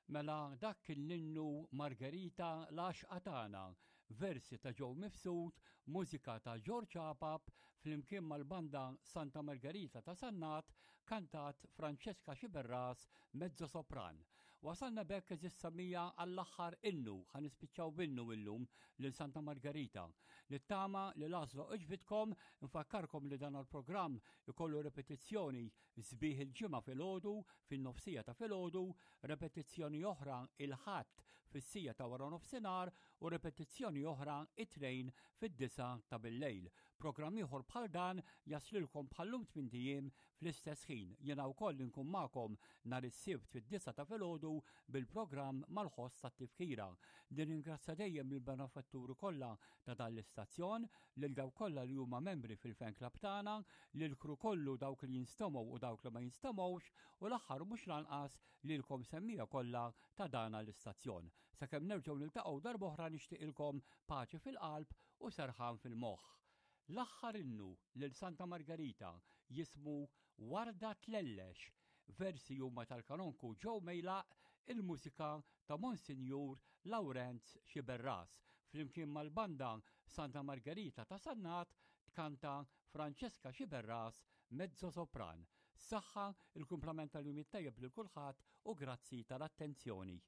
Mela dak kien l-innu Margherita l-għaxqa tagħna, versi ta' Joe Mifsud, mużika ta' George Apap, flimkien mal-banda Santa Margherita ta' Sannat, kantat Francesca Sciberras, mezzo sopran. Wasalna b'hekk eżis samija għall-aħħar innu, ħa nispiċċaw b'innu illum lil Santa Margherita. Nittama li l-għażla għoġbitkom, nfakkarkom li dan il-programm ikollu repetizzjoni Sbieħ il-Ġimgħa filgħodu fin-nofsija ta' filgħodu, repetizzjoni oħra il-Ħadd fis-siegħa ta' waranofsinhar u repetizzjoni oħra it-Tnejn fid-disgħa ta' billejl. Programm ieħor bħal dan jaslilkom bħal-lum tmint ijiem fl-istess ħin. Jiena wkoll inkun magħkom nhar is-Sibt fid-disgħa ta' filgħodu bil-programm Mal-Ħoss tat-Tifkira. Nirringrazzja dejjem lill-benefatturi kollha ta' dan l-istazzjon, lil dawk kollha li huma membri fil-fan club tagħna, lill-crew kollu dawk li jinstemgħu u dawk li ma jinstemgħux u l-aħħar u mhux l-anqas lilkom semmiegħa kollha ta' dana l-istazzjon. Sakemm nerġgħu niltaqgħu darb'oħra nixtieqilkom paċi fil-qalb u serħan fil-moħħ. L-aħħar innu lil Santa Margerita jismu Warda Tlellex Versi huma tal-Kanonku Joe Mejlaq, il-mużika ta' Monsinjur Lawrenz Sciberras. Flimkien mal-banda Santa Margherita ta' Sannat tkanta Francesca Sciberras, mezzo sopran. Saħħa, il-kumplament tal-jum it-tajjeb lil kulħadd u grazzi tal-attenzjoni.